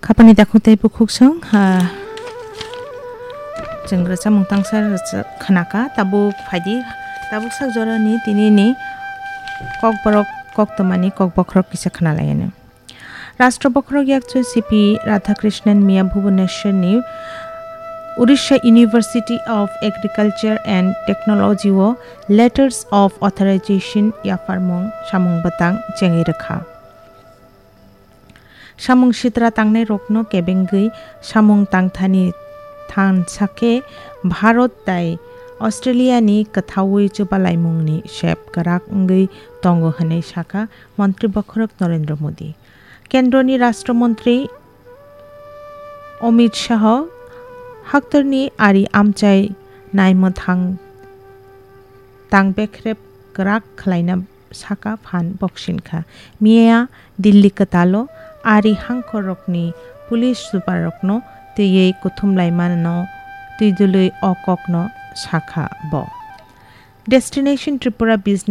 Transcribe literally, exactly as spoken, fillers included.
Khapani takhuk tei bukhuk song, ha, chwng rwchapmung tangsa rwchap khnaka, tabuk phaidi, tabuk sak jorani tinini kokborok koktwmani kokbokhorok kisa khna laiyano. Rashtra bokhorok yakchu C P Radhakrishnan miya Bhubaneswar ni Odisha University of Agriculture and Technology o Letters of Authorization yapharmung samung bwtang chengwi rwkha. Samung sitra tangnairokno kebengwi samung tangthani thansa khe Bharat tai Australia ni kwthaui chubalaimungni sep kwrak wngwi tongo hwnwi sakha Montri bokhorok Narendra Modi. Kendroni Rashtra Montri Amit Shah haktorni ari amchai naimwthang tang bekrep kwrak khlaina saka phan boksing kha. Miya Delhi kwtalo ari hangkhorrokni police superrokno twiwi kuthumlaimanano twidulwi o kokno sakha bo. Destination Tripura Business